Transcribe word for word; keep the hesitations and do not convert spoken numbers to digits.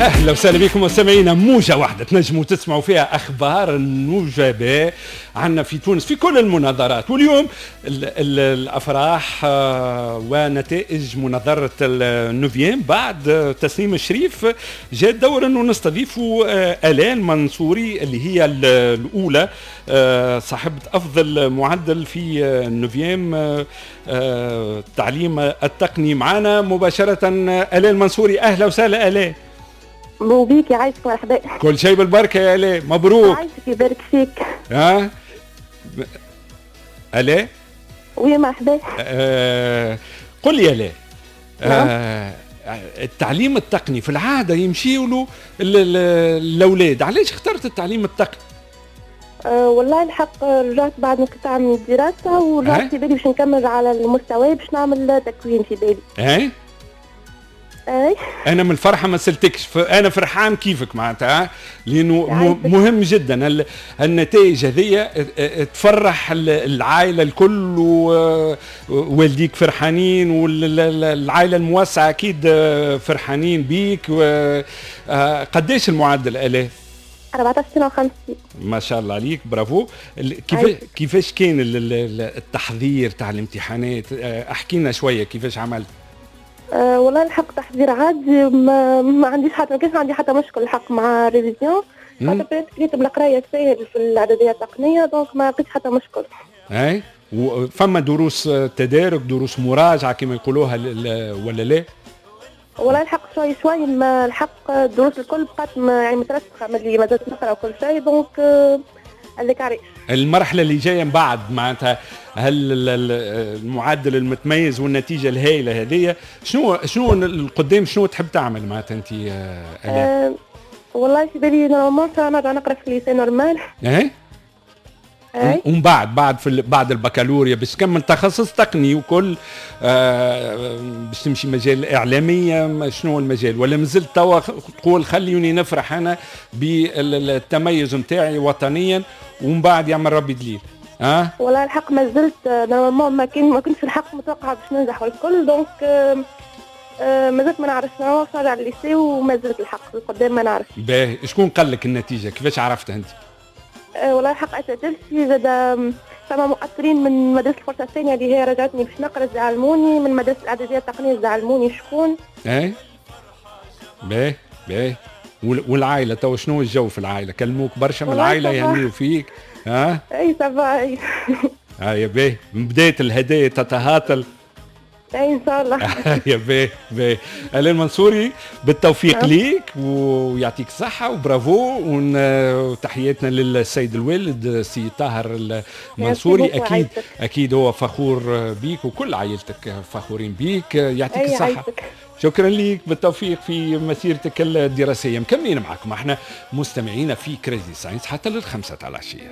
اهلا وسهلا بكم مستمعينا. موجه واحدة تنجموا تسمعوا فيها اخبار النجباء عندنا في تونس في كل المناظرات، واليوم ال ال الافراح آه، ونتائج مناظرة ال neuvième بعد تسنيم الشريف. جاء الدور انه نستضيفوا آه، آلان منصوري اللي هي الاولى، آه، صاحبه افضل معدل في ال neuvième التعليم التقني. معنا مباشرة آلان منصوري، اهلا وسهلا آلان. وبيك، يعيشك، مرحبا. كل شيء بالبركة يا آلاء، مبروك. يعيشك، يبارك فيك. ها آلاء؟ oui، مرحبا. آه قل لي يا آلاء، نعم. آه التعليم التقني في العادة يمشيوا له الاولاد، علاش اخترت التعليم التقني؟ أه والله الحق رجعت بعد انقطاع من الدراسة ورجعت في بالي باش نكمل على المستوى، باش نعمل تكوين في بالي. اي اي. انا من الفرحة ما سلتكش، انا فرحان كيفك معناتها، لانه مهم جدا النتائج هذه تفرح العائلة الكل، ووالديك فرحانين والعائلة الموسعه اكيد فرحانين بيك. قداش المعدل الاف؟ أربعطاش سنة وخمسين. ما شاء الله عليك، برافو. كيف كيفاش كان التحضير تاع الامتحانات؟ احكي لنا شوية كيفاش عملت. أه والله الحق تحضير عادي، ما, ما عنديش حتى ما كانش عندي حتى مشكل الحق مع révision، خاطر rythme القراية ساهل في الاعدادية التقنيه، donc ما لقيتش حتى مشكل. اي، وفما دروس تدارك، دروس مراجعه كما يقولوها، ولا لا؟ والله الحق شوي شوي، ما الحق الدروس الكل بقات يعني مترسخه من اللي مازالت نقرا وكل شيء، donc هذاك علاش. المرحلة اللي جاية من بعد معناتها، هل المعدل المتميز والنتيجة الهائلة هذه، شنو شنو القدام؟ شنو تحب تعمل معناتها انت؟ أه والله في بالي normalement نرجع نقرا في lycée normal. ايه اي. ومن بعد بعد في بعد البكالوريا باش تكمل تخصص تقني وكل، آه باش تمشي مجال الاعلاميه، شنو المجال؟ ولا مازلت توا تقول خليني نفرح انا بالتميز نتاعي وطنيا ومن بعد يعمل ربي دليل؟ ها أه؟ والله الحق ما زلت normalement ما كان ما كنتش الحق متوقعه باش ننجح والكل، donc آه ما زلت ما نعرفش، نرجع للل lycée وما زلت الحق القدام ما نعرف. باهي، شكون قال لك النتيجه؟ كيفاش عرفتها انت؟ أه والله الحق اساتذتي، زاد فما مؤطرين من مدرسه الفرصة الثانية اللي هي رجعتني باش نقرا علموني، من مدرسه الاعدادية التقنية علموني شكون. اي، باهي باهي. والعائلة تو شنو الجو في العائله؟ كلموك برشا من العائله؟ يهنيوا فيك؟ ها؟ اي، ça va، اي. هيا باهي، من بداية الهدايا تتهاطل. اي، ان شاء الله. يا باهي باهي، آلان منصوري، بالتوفيق نعم. ليك ويعطيك الصحة وبرافو، وتحياتنا للسيد الوالد سي طاهر المنصوري، اكيد اكيد هو فخور بيك وكل عائلتك فخورين بيك. يعطيك الصحة، شكرا لك، بالتوفيق في مسيرتك الدراسية. مكملين معكم احنا مستمعينا في Crazy Science حتى للخمسة على العشية.